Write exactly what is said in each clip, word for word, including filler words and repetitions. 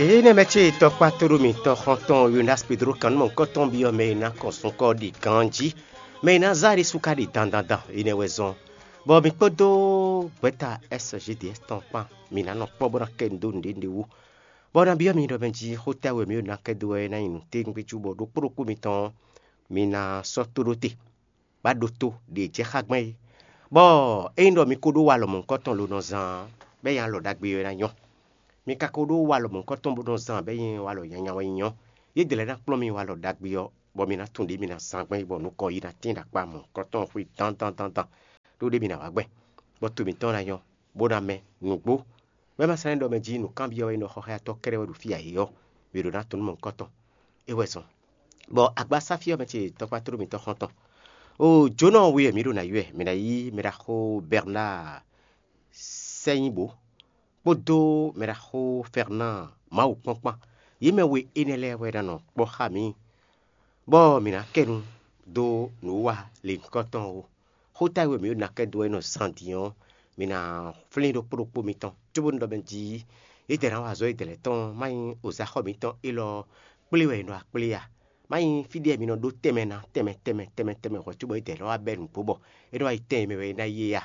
Èyí nɛ mɛ ce tɔkpá tóɖó mǐtɔn xɔntɔn Yonas Pedro kannumɔ nukɔntɔn byɔ́ mɛ e ná kɔn sunkɔ ɖi ganjí, mɛ e ná zá ɖésú ka ɖi dandandan. Énɛ́ wɛ zɔ́n, bɔ mǐ kpódó gbɛ̌ta S G D S tɔn kpán mǐ ná nɔ kpɔ́ bó ná kɛ nǔ dó nǔɖé nǔɖé wú. Bɔ ná byɔ́ mi ɖɔ mɛ jí xó tɛ́ wɛ mǐ ɖo ná kɛ dó wɛ é ná nyí nǔtɛ́núgbéjú bɔ ɖokpó ɖokpó mitɔn ɔ́, mi ná sɔ́ tó ɖó te, bó ná ɖótó ɖě jɛ xá gbɔn é. Bɔ ényí ɖɔ mi ko ɖó walɔ mɔ̌hunkɔtɔn lo nɔ zán ɔ́, bɔ é nyí alɔ ɖagbe ɔ́ é ná nyɔ́. Mi ka ko ɖó walɔ mɔ̌hunkɔtɔn bó nɔ zán bɔ é nyí walɔ nyanya wɛ nyí ɔ́, yědɛɛ lɛ́ɛ ná kplɔ́n mi walɔ ɖagbe ɔ́, bɔ mi ná tunwun ɖě mi ná zán gbɔn é, bɔ nukɔn yi ná tín ɖo akpá mɔ̌hunkɔtɔn xwé dandandandan, ɖó ɖě mi ná wá gbɛn, bɔ to mǐtɔn ná nyɔ́, bó ná mɛ nǔgbó. Wɛ ma sɛ́n ɖɔ mɛ jí nǔkanbyɔ́ wɛ nyí ɖɔ xɔxɔ́yatɔ́ kɛ́ɖɛ́ wɛ ɖo fí ǎ é ɔ́, mǐ ɖo ná tunwun nú mɔ̌hunkɔtɔn. É wɛ zɔn. Bɔ agbasáfí ɔ́ mɛ ce tɔkpá tló mitɔn xɔ́ntɔn. O jǒnɔ we wɛ mǐ ɖo ná yi wɛ, mǐ ná yí mɛɖaxó Bernard Sɛ́nyíbó kpódó mɛɖaxó Fernand Mawu kpɔ́n kpán. Yě mɛ we énɛ́ lɛ́ɛ wɛ ná nɔ kpɔ́ xá mǐ, bɔ mǐ ná kɛ nu dó nǔwiwa lěhunkɔtɔn ó. Xó táwe mǐ ɖo ná kɛ dó wɛ nɔ zan din ɔ́, mǐ ná flín ɖokpó ɖokpó mitɔn, cóbónú ɖɔ mɛ jí yědɛɛ ná wa azɔ̌ yědɛɛ lɛ́ɛ tɔn má nyí ozáxɔ mǐtɔn élɔ́ kplé wɛ è nɔ wá kplé a? Má nyí fí ɖé mi nɔ ɖó tɛnmɛ ná tɛnmɛ tɛnmɛ tɛnmɛ tɛnmɛ hwɛ̌ cóbɔ yědɛɛ lɛ́ɛ wá bɛ́ nǔgbó bɔ é nɔ wá yi tɛn e mɛ wɛ é ná yi é a?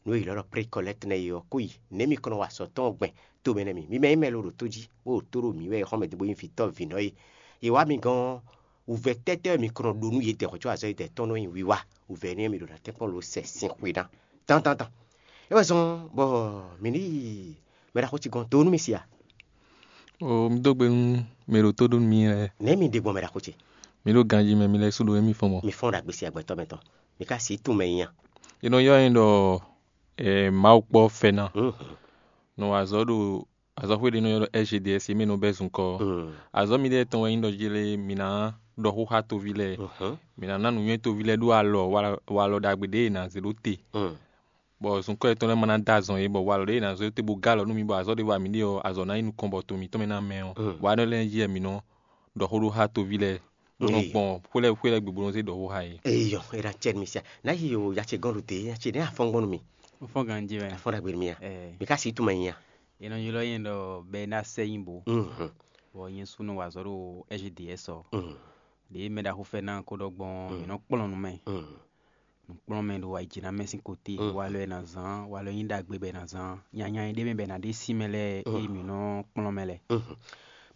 Nǔ e yě ylɔ́ ɖɔ précollecte nɛ́ é ɔ́, kó yi. Nɛ̌ mi kɔn nɔ wa azɔ̌ tɔn gbɛn to mɛ nɛ́ mi? Mi mɛ nyí mɛ lo ɖo tó jí, bó ɖo tó ɖo mǐ wɛ, è xɔ́ mɛ dó bó nyí vǐ tɔ́ vǐnɔ é. Yě wá mi gɔ́n ɔ́, wǔvɛ́ tɛ́tɛ́ wɛ mi kɔn nɔ ɖó nú yědɛɛ hwɛ̌ có azɔ̌ yědɛɛ tɔn nɔ nyi wiwa? Wǔvɛ́ énɛ́ mi ɖo ná tɛ́nkpɔ́n lo sɛ sin xwe ná dandandan. É wɛ zɔ́n bɔ mǐ ní yi mɛ ɖaxó ce gɔ́n do nú mi si a? O, mi dó gbe nú mɛ ɖo tó ɖó nú mi lɛ́ɛ. Nɛ̌ mi ɖe gbɔn mɛ ɖaxó ce? Mi ɖo ganjí mɛ, mi lɛ́ sú ɖo émí fɔ́n mɔ. Mi fɔ́n ɖo agbesi agbɛtɔ́ mɛ tɔn. Mi ka si tunwun mɛ nyi a? È nɔ ylɔ́ nyɛ ɖɔ eh, Mawu kpɔ́ fɛ́ ná. Mhm. Nɔ wa azɔ̌ ɖo azɔ̌xwé ɖé nɔ ylɔ́ ɖɔ S G D S é mɛ nɔ bɛ́ zunkɔ́ ɔ́. Mm. Azɔ̌ miɖée tɔn wɛ nyí ɖɔ jí lé mǐ ná ɖɔ xó xá toví lɛ́ɛ. Mhm. Mǐ ná ná nǔnywɛ́ toví lɛ́ɛ ɖó alɔ walɔ ɖagbe ɖě è nǎ zé ɖó te. Mm. Bɔ zunkɔ́ yětɔn lɛ́ɛ ma ná dó azɔn yě, bɔ walɔ ɖě è nǎ zé ɖó te bó gɔ́ alɔ nú mi, bɔ azɔ̌ ɖě wa mǐ ɖe ɔ́, azɔ̌ ná nyí nukɔn bɔ to mǐtɔn mɛ ná mɛ ɔ́. Mm. Wa énɛ́ lɛ́ɛ jí wɛ mǐ nɔ ɖɔ xó ɖó xá toví lɛ́ɛ, bó nɔ Eyi. Gbɔn xwé lɛ́ɛ xwé lɛ́ɛ gbe bó nɔ zé ɖɔ xó xá yě. Eyɔ, é ná cɛ mi sia. Ná yi o ya ce gɔ́n ɖo te, ya ce ɖé afɔn gbɔn nú mi. Fɔ́n ganjí wɛ. Afɔn ɖagbe nú mi a. Ɛɛ. Mi ka si tunwun mɛ nyi a. È nɔ ylɔ́ nyɛ ɖɔ Bɛnáa Sɛ́nyíbo, Mhm. Bɔ nyɛ sú nɔ wa azɔ̌ ɖo S G D S ɔ́. Mhm. Ɖě mɛ ɖaxó Fɛnáa ko ɖɔ gbɔn, Mm. Mǐ nɔ kplɔ́n nǔ mɛ. Mhm. Nǔkplɔ́nmɛ ɖo ayǐjínamɛ sín kotí, Mm. Walɔ e è nǎ zán, walɔ e nyí ɖagbe bɔ è nǎ zán, nyanya e ɖ'é mɛ bɔ è nǎ ɖe sí mɛ lɛ́ɛ, Mm. Ée mǐ nɔ kplɔ́n mɛ lɛ́ɛ. Mhm.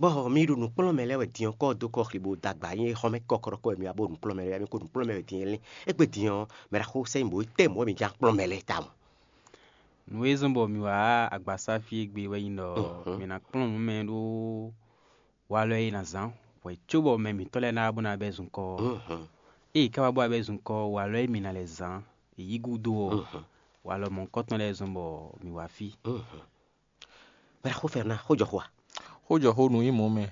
Bɔ mi ɖo nǔkplɔ́nmɛ lɛ́ɛ wɛ din ɔ́, kɔ́ dó kɔ xli bó dó agba, nyɛ xɔ́mɛ kɔkɔɖɔkɔ wɛ mi wá bó nǔkplɔ́nmɛ lɛ́ɛ, mi ko nǔkplɔ́nmɛ wɛ din é lɛ́ɛ. Égbé din ɔ́, mɛ ɖaxó sɛ́ nyí bǒ tɛ́ mɔ̌ mi ján kplɔ́nmɛ lɛ́ɛ tawun. Nǔ e zɔ́n bɔ mǐ wá agbasá fí égbé wɛ nyí ɖɔ Mhm. Mǐ ná kplɔ́n nǔ mɛ ɖó walɔ e è nǎ zán hwɛ̌ cóbɔ mɛ mǐtɔn lɛ́ɛ ná wá bó ná bɛ́ zunkɔ́ ɔ́. Mhm. Ée è ká wá bó wá bɛ́ zunkɔ́ ɔ́, walɔ e mǐ ná lɛ́ zán è yí gúdo ɔ́, Mhm. Walɔ mɔ̌hunkɔtɔn lɛ́ɛ zɔ́n bɔ mǐ wá fí. Mhm. Bɛ́ xó fɛ́ ná xó jɔ xó a? Xó jɔ xó nǔ nyí mɔ̌ mɛ,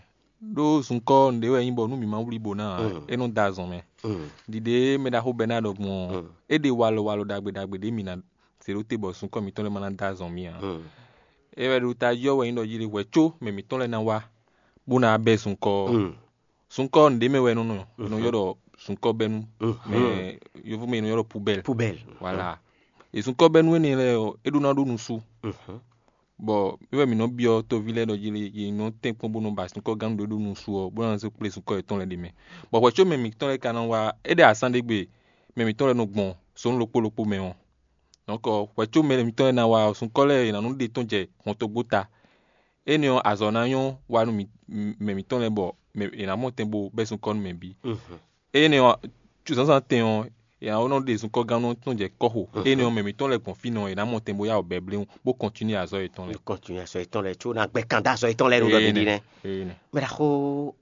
ɖó zunkɔ́ nǔɖé wɛ nyí bɔ nú mǐ ma wlí bo ná ǎ, Mm. É nɔ da azɔn mɛ. Mm. Ɖiɖe e mɛ ɖaxó bɛ́ ná ɖɔ gbɔn ɔ́, Mm. É ɖe walɔ walɔ ɖagbe ɖagbe ɖě mǐ ná zě ɖó te bɔ zunkɔ́ mǐtɔn lɛ́ɛ ma ná da azɔn mì ǎ. Mm. É wɛ ɖo tají ɔ́ wɛ nyí ɖɔ jí ɖe hwɛ̌ có mɛ mǐtɔn lɛ́ɛ ná wá bó ná bɛ́ zunkɔ́ ɔ́. Mm. Zunkɔ́ nǔɖé mɛ wɛ è nɔ nɔ, è nɔ ylɔ́ ɖɔ zunkɔ́ bɛ́nú, Mhm. Mɛ yovó mɛ è nɔ ylɔ́ ɖɔ poubelle. Poubelle. Voilà. E zunkɔ́ bɛ́nú énɛ́ lɛ́ɛ ɔ́, é ɖó ná ɖó nusú. Mhm. Bɔ é wɛ mǐ nɔ byɔ́ toví lɛ́ɛ ɖɔ jí lé, yě nɔ tɛ́n kpɔ́n bó nɔ ba zunkɔ́ gán ɖé ɖó nusú ɔ́, bó ná zé kplé zunkɔ́ yětɔn lɛ́ɛ ɖ'é mɛ. Bɔ hwɛ̌ có mɛ mǐtɔn lɛ́ɛ ka ná wá, é ɖe asán ɖé gbe mɛ mǐtɔn lɛ́ɛ nɔ gbɔn zɔ̌n ɖokpó ɖokpó mɛ ɔ́. Donc hwɛ̌ có mɛ mǐtɔn lɛ́ɛ ná wá ɔ́, zunkɔ́ lɛ́ɛ è nǎ nɔ ɖe tɔ́n jɛ hɔntogbó ta. Énɛ́ ɔ́, azɔ̌ ná nyɔ́ wa nú mɛ mǐtɔn lɛ́ɛ bɔ è nǎ mɔ tɛn bó bɛ́ zunkɔ́ nú mɛ bǐ. Énɛ́ ɔ́, zǎnzǎn tɛn ɔ́, è nǎ nɔ ɖe zunkɔ́gannú ɔ́ tɔn jɛ kɔ́ xo. Énɛ́ ɔ́, mɛ mǐtɔn lɛ́ɛ gbɔn fínɛ́ ɔ́, è nǎ mɔ tɛn bó yá wǔ bɛ́ bléwún, bó kɔntinué azɔ̌ yětɔn lɛ́ɛ. Kɔntinué azɔ̌ yětɔn lɛ́ɛ, có ná gbɛ́ kan dó azɔ̌ yětɔn lɛ́ɛ ɖo ɖɔ mǐ ɖi nɛ́. Mɛ ɖaxó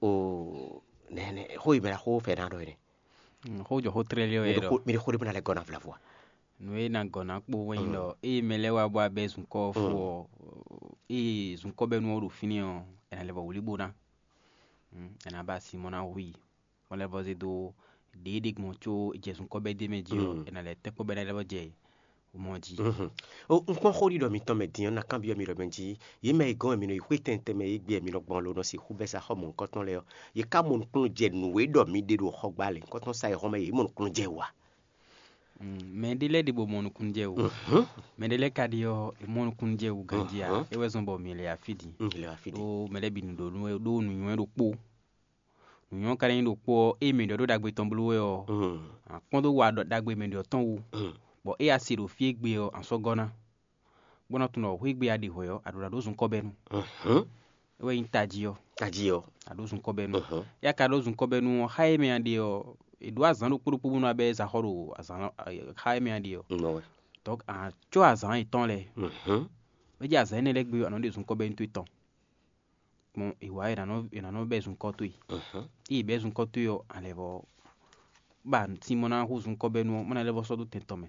o, nɛnɛ xó e mɛ ɖaxó fɛ ná ɖɔ é nɛ́. Xó jɔ xó tlɛ́ lé wɛ Mi ɖo ɖɔ xó mi ɖo xó ɖé bó ná lɛ́ gɔ́ ná vlavo a? Nǔ e ná gɔ́ ná kpó wɛ nyí ɖɔ ée mɛ lɛ́ɛ wá bó wá bɛ́ zunkɔ́ ɔ́ fó ɔ́, ée zunkɔ́ bɛ́ nú ɔ́ ɖo fínɛ́ ɔ́, è nǎ lɛ́ vɔ wlí bó ná. È nǎ ba asi mɔ ná hu i, bó lɛ́ vɔ zé dó ɖě ɖé gbɔn có è jɛ zunkɔ́ bɛ́ d'é mɛ jí ɔ́, è nǎ lɛ́ tɛ́ kpɔ́ bɔ é ná lɛ́ vɔ jɛ mɔ jí. O, un kpɔ́n xóɖiɖɔ mitɔn mɛ din ɔ́, ná kanbyɔ́ mi ɖɔ mɛ jí, yě mɛ e gɔ́n wɛ mi nɔ yi xwé tɛntɛn mɛ é gbé wɛ mi nɔ gbɔn lo nɔ sixú bɛ́ sa xɔ mɔ̌hunkɔtɔn lɛ́ɛ ɔ́, yě ká mɔ nukúnnú jɛ nǔ e ɖɔ mi ɖe ɖo xɔgbá lěhunkɔtɔn sa e hɔn mɛ yě mɔ nukúnnú jɛ wǎ. Mɛ ɖé lɛ́ɛ ɖe bɔ mɔ nukúnnú jɛ wú. Mɛ ɖé lɛ́ɛ ka ɖe ɔ́, è mɔ nukúnnú jɛ wú ganjí ǎ. É wɛ zɔ́n bɔ mǐ lɛ afí din. Ɖó mɛ lɛ́ɛ bǐ nu ɖo nú wɛ ɖó nǔnywɛ́ ɖokpó. Nǔnywɛ́ ka ná nyí ɖokpó ɔ́, ée mɛ ɖɔ ɖó ɖagbe tɔn bló wɛ ɔ́, a kpɔ́n dó wa ɖɔ ɖagbe mɛ ɖɔ tɔn wú, bɔ ée a se ɖo fí e gbe ɔ́, a sɔ́ gɔ́ ná, bó ná tunwun ɖɔ xwé gbe a ɖe hwɛ̌ ɔ́, a ɖǒ ná ɖó zunkɔ́bɛ́nu. É wɛ nyí tají ɔ́, Tají ɔ́. A ɖǒ zunkɔ́bɛ́nu. Éyɛ́ ka ɖó zunkɔ́bɛ́nu ɔ́, xá e mɛ a ɖe ɔ́, è ɖǒ azǎn ɖokpó ɖokpó bónú abɛ́ zaxɔ́ ɖo azǎn xá e mɛ a ɖe ɔ́. Nɔ wɛ. Donc a cɔ́ azǎn yětɔn lɛ́ɛ. É jɛ azǎn énɛ́ lɛ́ɛ gbe ɔ́, a nɔ ɖe zunkɔ́bɛ́nu towe tɔn. Gbɔn è wǎ è nǎ nɔ è nǎ nɔ bɛ́ zunkɔ́ towe. Ée è bɛ́ zunkɔ́ towe ɔ́, a lɛ̌ vɔ ba sin bɔ ná hú zunkɔ́bɛ́nu ɔ́, bó ná lɛ́ vɔ sɔ́ dó tɛn tɔn mɛ.